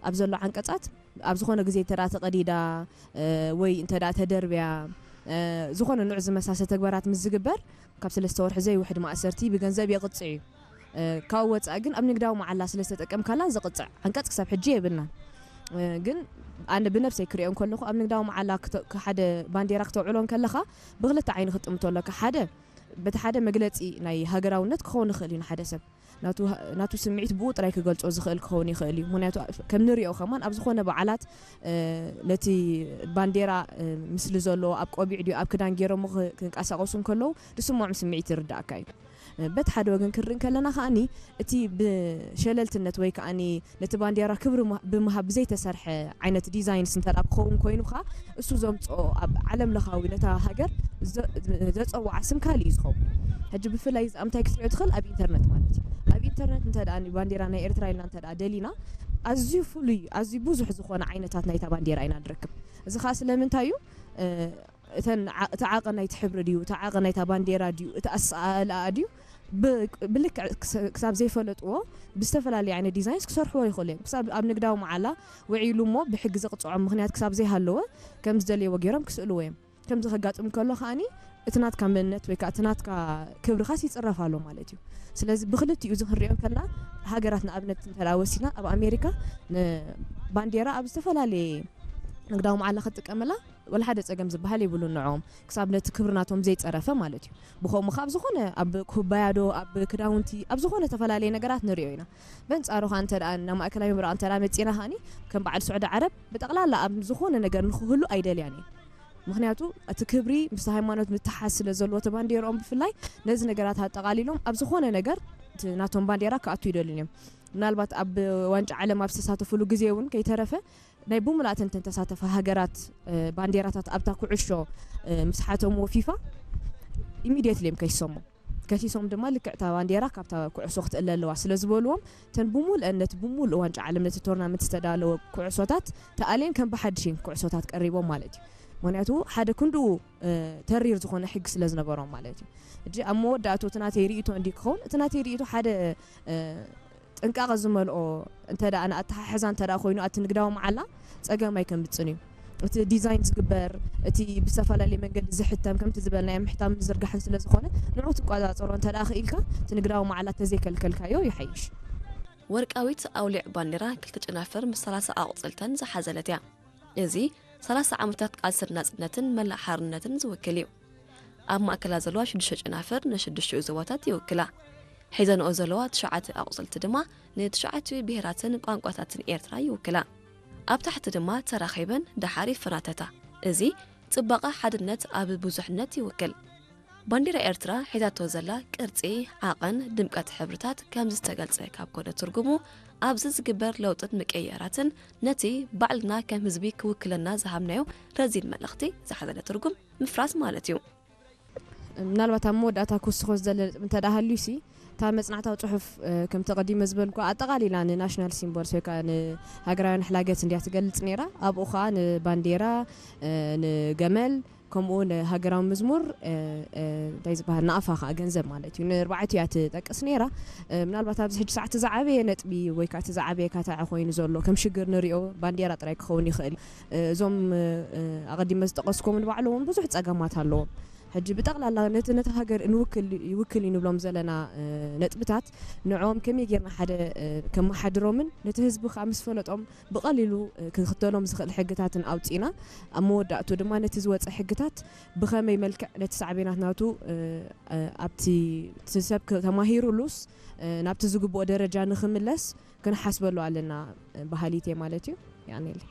ኣብ ዘሎ ዓንቀጻት ኣብ ዝኾነ ግዜ እንተ ደኣ ተቐዲዳ ወይ እንተ ደኣ ተደርብያ ዝኾነ ንዑ ዝመሳሰ ተግባራት ምስ ዝግበር ካብ ሰለስተ ወርሒ ዘይውሕድ ማእሰርቲ ብገንዘብ የቕጽዕ እዩ። ካብኡ ወጻኢ ግን ኣብ ንግዳዊ መዓላ ስለ ዝተጠቀምካላ ዝቕጽዕ ዓንቀጽ ክሳብ ሕጂ የብልናን። ግን ኣነ ብነብሰይ ክሪኦ እንከለኹ ኣብ ንግዳዊ መዓላ ሓደ ባንዴራ ክተውዕሎ እንከለኻ ብክልተ ዓይኒ ክትጥምቶ ኣለካ። ሓደ በቲ ሓደ መግለጺ ናይ ሃገራውነት ክኸውን ይኽእል እዩ ንሓደ ሰብ ናቱ ስምዒት ብኡ ጥራይ ክገልጾ ዝኽእል ክኸውን ይኽእል እዩ። ምክንያቱ ከም ንሪኦ ከማን ኣብ ዝኾነ በዓላት ነቲ ባንዴራ ምስሊ ዘለዎ ኣብ ቆቢዕ ድዩ ኣብ ክዳን ገይሮሞ ክንቀሳቀሱ እንከለዉ ዝስምዖም ስምዒት ይርዳእካ እዩ። በቲ ሓደ ወገን ክንርኢ ከለና ከኣኒ እቲ ብሸለልትነት ወይ ከኣኒ ነቲ ባንዴራ ክብሪ ብምሃብ ብዘይተሰርሐ ዓይነት ዲዛይንስ እንተ ክኸውን ኮይኑ ከ እሱ ዘምፅኦ ኣብ ዓለም ለኻዊ ነታ ሃገር ዘፀውዓ ስም ካልእ እዩ ዝኸውን። ሕጂ ብፍላይ እዚኣ ምንታይ ክትሪኦ ትኽእል ኣብ ኢንተርነት ማለት እዩ። ኣብ ኢንተርነት እንተ ባንዴራ ናይ ኤርትራ ኢልና እንተ ደሊና ኣዝዩ ፍሉይ ኣዝዩ ብዙሕ ዝኾነ ዓይነታት ናይታ ባንዴራ ኢና ንረክብ። እዚ ከዓ ስለምንታይ እዩ? እተን እቲ ዓቐን ናይቲ ሕብሪ ድዩ እቲ ዓቐን ናይታ ባንዴራ ድዩ እቲ ኣሰኣእልኣ ድዩ ብልክዕ ክሳብ ዘይፈለጥዎ ብዝተፈላለየ ዓይነት ዲዛይንስ ክሰርሕዎ ይኽእሉ እዮም። ክሳብ ኣብ ንግዳዊ መዓላ ውዒሉ እሞ ብሕጊ ዘቕፅዖም ምኽንያት ክሳብ ዘይሃለወ ከም ዝደለይዎ ገይሮም ክስእልዎ እዮም። ከምዚ ከጋጥም ከሎ ከዓኒ እቲ ናትካ መንነት ወይ ከዓ እቲ ናትካ ክብርኻስ ይፅረፍ ኣሎ ማለት እዩ። ስለዚ ብክልቲኡ እዚ ክንሪኦ ከለና ሃገራት ንኣብነት እንተ ወሲድና ኣብ ኣሜሪካ ንባንዴራ ኣብ ዝተፈላለየ ንግዳዊ መዓላ ክትጥቀመላ ወላ ሓደ ጸገም ዝበሃል የብሉን ንዕኦም ክሳብ ነቲ ክብሪ ናቶም ዘይጸረፈ ማለት እዩ። ብኸምኡ ካብ ዝኾነ ኣብ ኩባያ ዶ ኣብ ክዳውንቲ ኣብ ዝኾነ ተፈላለየ ነገራት ንሪኦ ኢና። በንጻሩ ኸኣ እንተ ደኣ ናብ ማእከላይ ምብራቕ እንተ ደኣ መጺና ኸኣኒ ከም በዓል ስዑዲ ዓረብ ብጠቕላላ ኣብ ዝኾነ ነገር ንኽህሉ ኣይደልያን እየን። ምኽንያቱ እቲ ክብሪ ምስ ሃይማኖት ምትሓዝ ስለ ዘለዎ እቲ ባንዴርኦም ብፍላይ ነዚ ነገራት ኣጠቓሊሎም ኣብ ዝኾነ ነገር እቲ ናቶም ባንዴራ ክኣቱ ይደልዩን እዮም። ምናልባት ኣብ ዋንጫ ዓለም ኣብ ዝተሳተፍሉ ግዜ እውን ከይተረፈ ናይ ብምልኣተን እተን ተሳተፋ ሃገራት ባንዴራታት ኣብታ ኩዕሾ ምስ ሓተምዎ ፊፋ ኢሚድየትሊ እዮም ከሲሶሞ። ከሲሶም ድማ ልክዕታ ባንዴራ ካብታ ኩዕሶ ክትእለ ኣለዋ ስለ ዝበልዎም እተን ብምሉአን ነቲ ብምሉእ ዋንጫ ዓለም ነቲ ቶርናመንት ዝተዳለወ ኩዕሶታት ተኣልየን ከም ብሓድሽ እየን ኩዕሶታት ቀሪቦም ማለት እዩ። ምክንያቱ ሓደ ክንድኡ ተሪር ዝኾነ ሕጊ ስለ ዝነበሮም ማለት እዩ። ሕጂ ኣብ መወዳእቱ እቲ ናተይ ርእይቶ እንዲ ክኸውን እቲ ናተይ ርእይቶ ሓደ ጥንቃቐ ዝመልኦ እንተ ደኣ ንኣተሓሕዛ እንተ ደኣ ኮይኑ ኣቲ ንግዳዊ መዓላ ጸገም ኣይከምጽን እዩ። እቲ ዲዛይን ዝግበር እቲ ብዝተፈላለየ መንገዲ ዝሕተም ከምቲ ዝበልናዮ ምሕታም ምዝርጋሕን ስለ ዝኾነ ንዑ ትቆጻጸሮ እንተ ደኣ ክኢልካ እቲ ንግዳዊ መዓላ ተዘይከልከልካዮ ይሓይሽ። ወርቃዊት ኣውሊዕ ባንዴራ ክልተ ጨናፍር ምስ ሰላሳ ኣቑጽልተን ዝሓዘለት እያ። እዚ ሰላሳ ዓመታት ቃልስን ናጽነትን መላእ ሓርነትን ዝውክል እዩ። ኣብ ማእከላ ዘለዋ ሽዱሽተ ጨናፍር ንሽዱሽቲኡ ዞባታት ይውክላ። ሒዘንኦ ዘለዋ ትሽዓተ ኣቑጽልቲ ድማ ንትሽዓቲኡ ብሄራትን ቋንቋታትን ኤርትራ ይውክላ። ኣብ ታሕቲ ድማ ተራኺበን ደሓር ይፈናተታ። እዚ ጽባቐ ሓድነት ኣብ ብዙሕነት ይውክል። ባንዴራ ኤርትራ ሒዛቶ ዘላ ቅርጺ፣ ዓቐን፣ ድምቀት ሕብርታት ከምዚ ዝተገልጸ ካብ ኮነ ትርጉሙ ኣብዚ ዝግበር ለውጥን ምቅይያራትን ነቲ ባዕልና ከም ህዝቢ ክውክለና ዝሃብናዮ ረዚን መልእኽቲ ዝሓዘለ ትርጉም ምፍራስ ማለት እዩ። ምናልባት ኣብ መወዳእታ ክውስኾ ዝደለ ነጥቢ እንተ ደኣ ሃልዩሲ እታ መጽናዕታዊ ጽሑፍ ከምቲ ቀዲመ ዝበልኩ ኣጠቓሊላ ንናሽናል ሲምቦልስ ወይ ከዓ ንሃገራውያን ሕላገት እንድያ ትገልጽ ነይራ። ኣብኡ ከዓ ንባንዴራ፣ ንገመል ከምኡ ንሃገራዊ መዝሙር እንታይ ዝበሃል ንኣፋ ከዓ ገንዘብ ማለት እዩ ንርባዕቲ እያ ትጠቅስ ነይራ። ምናልባት ኣብዚ ሕጂ ሰዓት ዝዓበየ ነጥቢ ወይ ከዓ እቲ ዝዓበየ ካታዕ ኮይኑ ዘሎ ከም ሽግር ንሪኦ ባንዴራ ጥራይ ክኸውን ይኽእል። እዞም ኣቐዲመ ዝጠቀስኩም ንባዕሉ እውን ብዙሕ ጸገማት ኣለዎም። ሕጂ ብጠቕላላ ነቲ ነቲ ሃገር ንውክል ይውክል እዩ ንብሎም ዘለና ነጥብታት ንዕኦም ከመይ ጌርና ሓደ ከመሓድሮምን ነቲ ህዝቢ ከዓ ምስ ፈለጦም ብቐሊሉ ክኽተሎም ዝኽእል ሕግታትን ኣውፂእና ኣብ መወዳእቱ ድማ ነቲ ዝወፀ ሕግታት ብኸመይ መልክዕ ነቲ ሳዕቤናት ናቱ ኣብቲ እቲ ሰብ ተማሂሩሉስ ናብቲ ዝግብኦ ደረጃ ንኽምለስ ክንሓስበሉ ኣለና በሃሊት እየ ማለት እዩ። ያኔል